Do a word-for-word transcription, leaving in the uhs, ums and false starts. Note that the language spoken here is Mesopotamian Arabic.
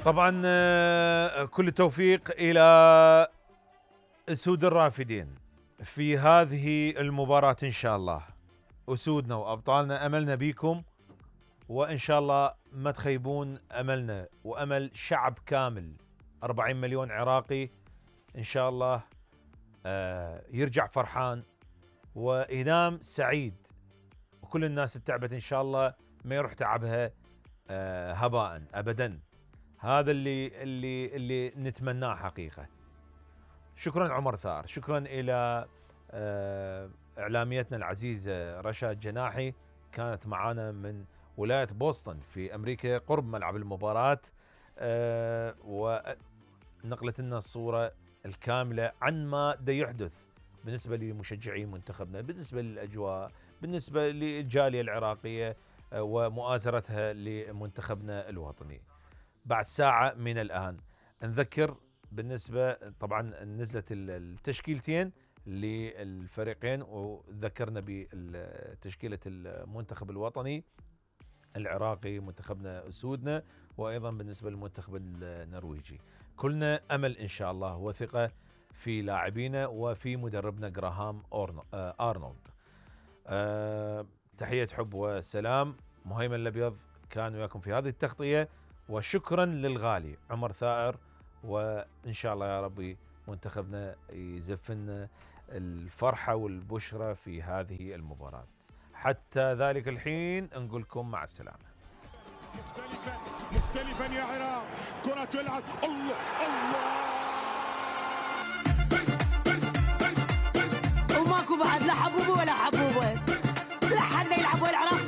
طبعا كل التوفيق إلى أسود الرافدين في هذه المباراة إن شاء الله. أسودنا وأبطالنا أملنا بيكم، وإن شاء الله ما تخيبون أملنا وأمل شعب كامل أربعين مليون عراقي إن شاء الله يرجع فرحان وينام سعيد، وكل الناس التعبت إن شاء الله ما يروح تعبها هباء أبدا. هذا اللي اللي اللي نتمناه حقيقة. شكرا عمر ثار، شكرا إلى إعلاميتنا العزيزة رشاد جناحي، كانت معنا من ولاية بوسطن في أمريكا قرب ملعب المباراة، ونقلت لنا الصورة الكاملة عن ما دا يحدث بالنسبة لمشجعي منتخبنا، بالنسبة للأجواء، بالنسبة للجالية العراقية ومؤازرتها لمنتخبنا الوطني. بعد ساعة من الآن نذكر بالنسبة طبعا نزلت التشكيلتين للفريقين، وذكرنا بتشكيلة المنتخب الوطني العراقي منتخبنا أسودنا، وأيضا بالنسبة للمنتخب النرويجي. كلنا أمل إن شاء الله وثقة في لاعبينا وفي مدربنا جراهام أرنولد. أه تحية حب وسلام. مهيمن الأبيض كان وياكم في هذه التغطية، وشكرا للغالي عمر ثائر، وإن شاء الله يا ربي منتخبنا يزفنا الفرحة والبشرة في هذه المباراة. حتى ذلك الحين نقول لكم مع السلامة. مختلفا مختلفا يا عراق، كرة تلعب، الله الله، وماكو بعد لا حبوبة ولا حبوبة، لا حد يلعب العراق